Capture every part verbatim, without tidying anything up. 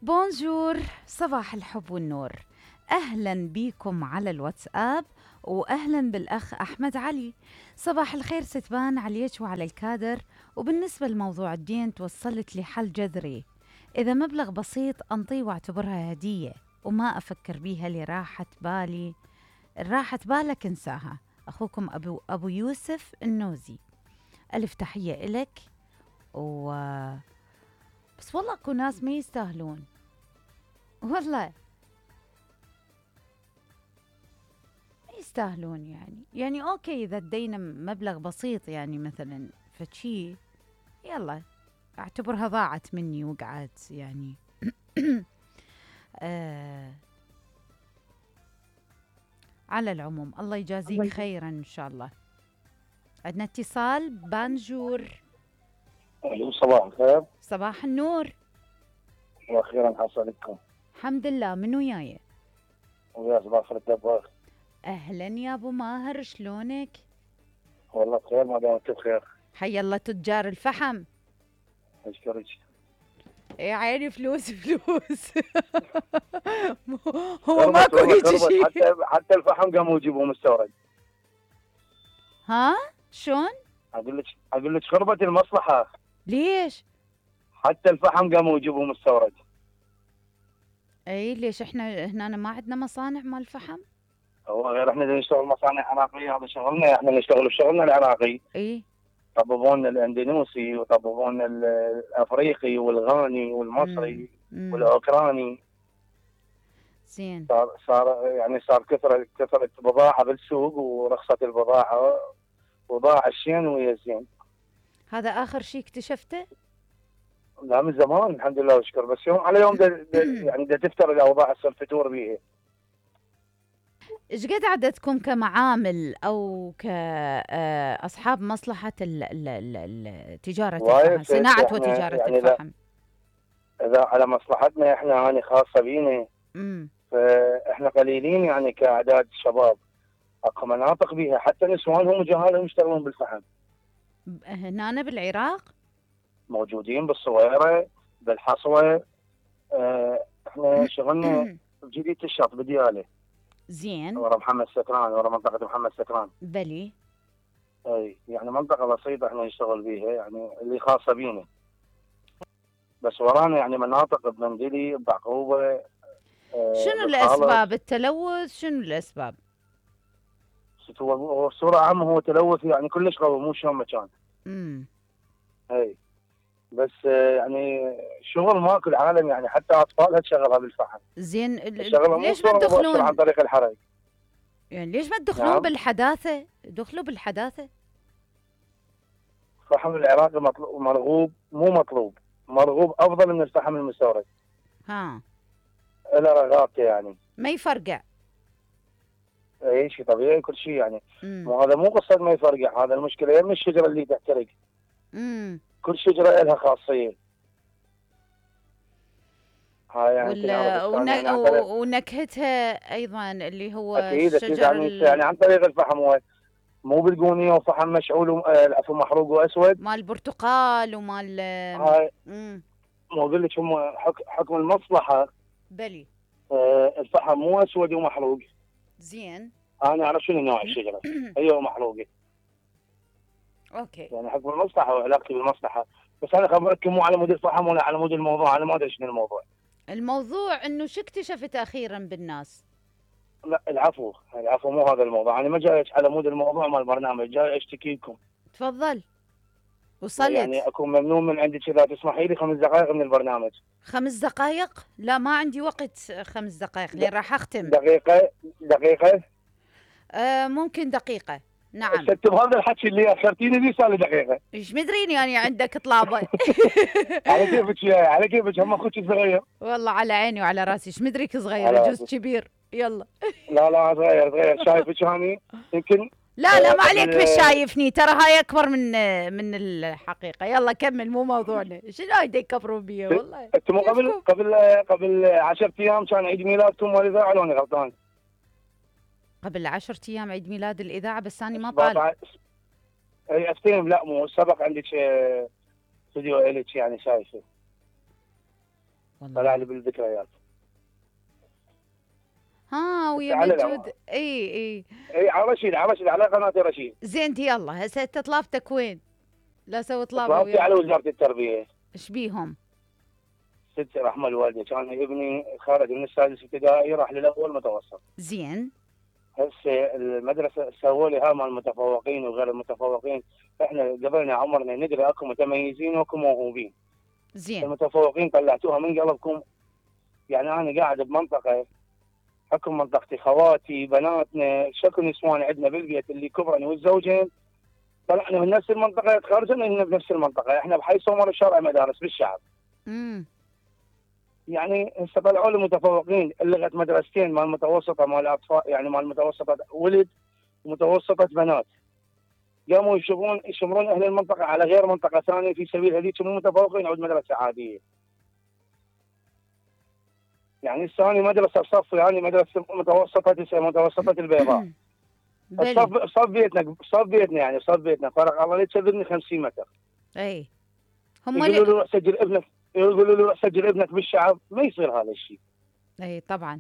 بونجور، صباح الحب والنور. أهلا بيكم على الواتساب، وأهلا بالأخ أحمد علي. صباح الخير ستبان عليك وعلى الكادر. وبالنسبة لموضوع الدين توصلت لحل جذري، إذا مبلغ بسيط أنطيه واعتبرها هدية وما أفكر بيها لراحة بالي. راحة بالك انساها. أخوكم أبو, أبو يوسف النوزي. ألف تحية إلك. و بس والله اكو ناس ما يستاهلون، والله ما يستاهلون. يعني يعني اوكي اذا ادينا مبلغ بسيط، يعني مثلا فشي يلا اعتبرها ضاعت مني وقعت يعني. آه على العموم الله يجازيك خيرا ان شاء الله. عندنا اتصال. بانجور. الو صباح الخير. صباح النور. واخيرا حصلتكم. الحمد لله. من وياي؟ ويا صباح الدباغ. اهلا يا ابو ماهر، شلونك؟ والله بخير ما دام انت بخير. حي الله تجار الفحم. اشكرك. يا عيني فلوس فلوس. هو ماكو هيك شيء. حتى حتى الفحم قاموا يجيبوه مستورد. ها شلون؟ اقول لك اقول لك خربت المصلحه. ليش؟ حتى الفحم قاموا يجيبوه مستورد. اي ليش احنا هنا ما عندنا مصانع مال فحم؟ هو غير احنا نشتغل مصانع عراقيه، هذا شغلنا، احنا نشتغل بشغلنا العراقي. اي طببون الاندونيسي وطببون الافريقي والغاني والمصري مم. والاوكراني. زين. صار صار يعني صار كثرة كثرة بضاعة بالسوق ورخصت البضاعة وضاع الشين ويا الزين. هذا آخر شيء اكتشفته؟ لا من زمان الحمد لله والشكر، بس يوم على يوم دا يعني دا تفتر الأوضاع تصير فتور بيها. ايش قد عددكم كمعامل أو كأصحاب مصلحة ال ال ال تجارة الفحم، صناعة وتجارة يعني الفحم؟ إذا على مصلحتنا احنا يعني خاصة بينا. امم فاحنا قليلين يعني كأعداد شباب. اكو مناطق بيها حتى نسوانهم وجهالهم يشتغلون بالفحم. هنا بالعراق؟ موجودين بالصويرة بالحصوة. اه احنا شغلنا بجديد الشط بدياله. زين. ورا محمد سكران، ورا منطقة محمد سكران. بلي. اي يعني منطقة بسيطة احنا نشتغل بيها، يعني اللي خاصة بينا. بس ورانا يعني مناطق بمندلي بعقوبة. اه شنو الأسباب التلوث؟ شنو الأسباب؟ هو بصورة عامة هو تلوث يعني كلش قوي، مو شلون مكان. امم اي بس يعني شغل ماكو العالم، يعني حتى اطفالها تشغلها بالفحم. زين. ليش ما تدخلون عن طريق الحرق؟ يعني ليش ما تدخلون نعم. بالحداثة؟ دخلوا بالحداثة. الفحم العراقي مطلوب مرغوب، مو مطلوب مرغوب، افضل من الفحم المستورد. ها له رغابته يعني ما يفرقع. اي شيء طبيعي كل شيء يعني. مو هذا مو قصه ما يفرقع، هذا المشكله يم الشجره اللي تحترق. امم كل شجره لها خاصيه. هاي يعني ولا ون... يعني ونكهتها ايضا اللي هو اكيد اكيد الشجر يعني, ال... يعني عن طريق الفحم. هو مو بتقونيه وفحم مشعول و... العفو محروق واسود مال البرتقال ومال. هاي امم مو اقول لك هم حك... حكم المصلحه. بلي. آه الفحم مو اسود ومحروق. زين. انا اعرف شنو نوع الشجره هي محروقه. اوكي يعني حكم المصلحه وعلاقتي بالمصلحه. بس انا خبرتكم مو على مود الفحم ولا على مود الموضوع، انا ما ادري شنو الموضوع. الموضوع انه شو اكتشفت اخيرا بالناس؟ لا العفو العفو مو هذا الموضوع، انا ما جاي على مود الموضوع مال البرنامج، جاي اشتكي لكم. تفضل. وصلت. يعني اكون ممنون من عندك اذا تسمحي لي خمس دقائق من البرنامج. خمس دقائق؟ لا ما عندي وقت خمس دقائق لين راح اختم. دقيقه دقيقه آه ممكن دقيقه. نعم. ست بهذا الحكي اللي اخرتيني به صار لي دقيقه. ايش مدريني يعني عندك طلابه. على كيفك يا على كيفك، هم اخوك صغير. والله على عيني وعلى راسي، ايش مدريك صغير جزء كبير. يلا. لا لا صغير صغير شايفك هاني يمكن. لا لا ما عليك مش شايفني، ترى هاي اكبر من من الحقيقه. يلا كمل مو موضوعنا. شنو هاي يكبرون بيه والله. انتم قبل قبل قبل عشرة ايام كان عيد ميلادكم والاذاعه لو انا غلطان؟ قبل عشرة ايام عيد ميلاد الاذاعه، بس انا ما طالع. اي استلم. لا مو سبق عندك استوديو الك يعني شايفه. والله. طلع لي بالذكريات. ها ويا على مجود. العمى. اي اي اي على رشيد، على رشيد، على قناه رشيد. زين يلا هسه انت طلابتك وين؟ لا سوي طلابه طلبتي وياك. على وزاره التربيه. ايش بيهم؟ ست رحمه الوالده، كان ابني خارج من السادس ابتدائي راح للاول متوسط. زين. هسه المدرسه سووا لي ها مال المتفوقين وغير المتفوقين. احنا قبلنا عمرنا ندري اكو متميزين واكو موهوبين. زين. المتفوقين طلعتوها من قلبكم. يعني انا قاعد بمنطقه حكم منطقتي، خواتي بناتنا شكو نسوان عندنا بالبيت اللي كبرن والزوجين طلعنا من نفس المنطقه، تخرجنا من نفس المنطقه، احنا بحي سمر شارع مدارس بالشعب. امم يعني هسه طلعوا لي متفوقين اللي لغت مدرستين، مال متوسطه مال اطفال، يعني مال متوسطه ولد ومتوسطه بنات. قاموا يشمرون يشمرون اهل المنطقه على غير منطقه ثانيه في سبيل هذيك مو متفوقين عود مدرسه عاديه. يعني الثاني مدرسه بصف، يعني مدرسه متوسطه متوسطه البيضاء. بلي. صف صف بيتنا صف بيتنا يعني صف بيتنا فرق الله لا تشذبني خمسين متر. اي هم يقولوا له لي... روح سجل ابنك، يقولوا له روح سجل ابنك بالشعب، ما يصير هذا الشيء. اي طبعا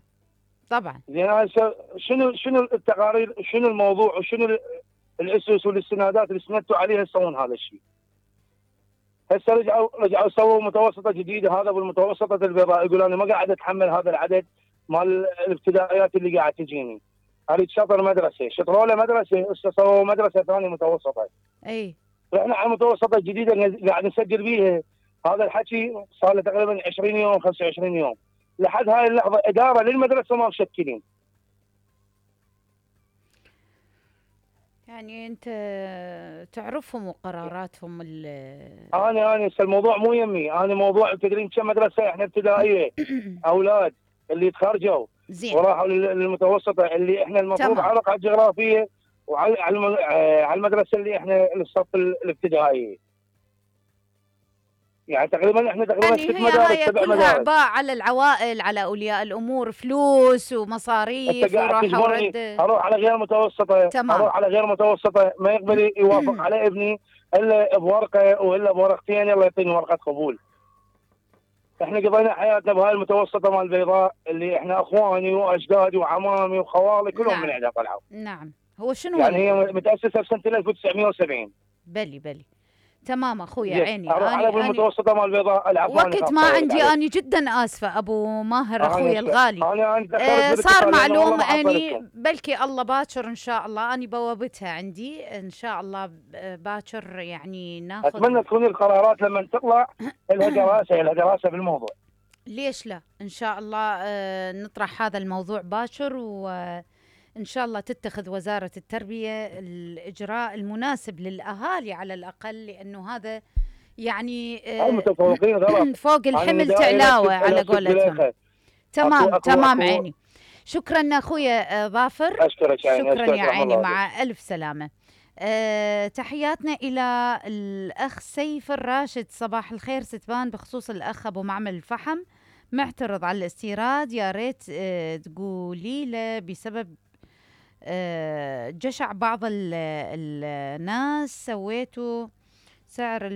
طبعا. زين هسه شنو شنو التقارير، شنو الموضوع وشنو الاسس والاستنادات اللي استندتوا عليها تسوون هذا الشيء؟ هسه رجعوا رجعوا سووا متوسطه جديده، هذا بالمتوسطه البيضاء يقول انا ما قاعد اتحمل هذا العدد مال الابتدائيات اللي قاعد تجيني. اريد شطر مدرسه، شطروا له مدرسه، هسه سووا مدرسه ثانيه متوسطه. اي احنا على المتوسطه الجديده قاعد نسجل بيها. هذا الحكي صار له تقريبا عشرين يوم خمسة وعشرين يوم. لحد هاي اللحظه اداره للمدرسه ما مشكلين. يعني انت تعرفهم وقراراتهم ال انا انا هسه الموضوع مو يمي، انا موضوع تدرين كم مدرسه احنا ابتدائيه اولاد اللي تخرجوا زين وراحوا للمتوسطه اللي احنا المفروض تمام. على الرقعه الجغرافيه وعلى على الم- آه، على المدرسه اللي احنا الصف الابتدائي. يعني تقريبا احنا تقريبا يعني ست هي مدارس هاي سبع كلها مدارس. اعباء على العوائل، على اولياء الامور، فلوس انت ومصاريف قاعد وراحه تجبرني ورده. اروح على غير متوسطه، تمام. اروح على غير متوسطه ما يقبل يوافق على ابني الا بورقه والا بورقتين يلا يعطيني ورقه قبول. احنا قضينا حياتنا بهاي المتوسطه مال البيضاء اللي احنا اخواني واجدادي وعمامي وخوالي كلهم من نعم عندها طلعوا. نعم. هو شنو يعني هي ال... متاسسه بسنه ألف وتسعمئة وسبعين. بلي بلي. تمام اخويا زين عيني. اروح على اني اني بالمتوسطه مال البيضاء العفو انا وقت ما خاصة أرد عندي، عليك. اني جدا اسفه ابو ماهر انا اخويا الغالي. انا انا تاخرت آه صار بالاتصال لأنه والله معلوم ما اني حصلتكم. بلكي الله باكر ان شاء الله، اني بوابتها عندي ان شاء الله ب- باكر يعني ناخذ. اتمنى تكون القرارات لما تطلع لها دراسه لها دراسه بالموضوع. ليش لا ان شاء الله. آه نطرح هذا الموضوع باكر وان شاء الله تتخذ وزاره التربيه الاجراء المناسب للاهالي على الاقل، لانه هذا يعني آه المتفوقين غلط. فوق أنا الحمل ندائي تعلاوه لك على ألف قولتهم. زليخة. تمام أكو- أكو- تمام أكو- عيني. شكرا اخويا آه، ظافر. اشكرك عيني، شكرا اشكرك يا رحم عيني، الله عليك. مع الف سلامه. أه تحياتنا الى الاخ سيف الراشد. صباح الخير ستبان، بخصوص الاخ ابو معمل الفحم معترض على الاستيراد، يا ريت أه تقولي له بسبب أه جشع بعض ال- الناس سويتوا سعر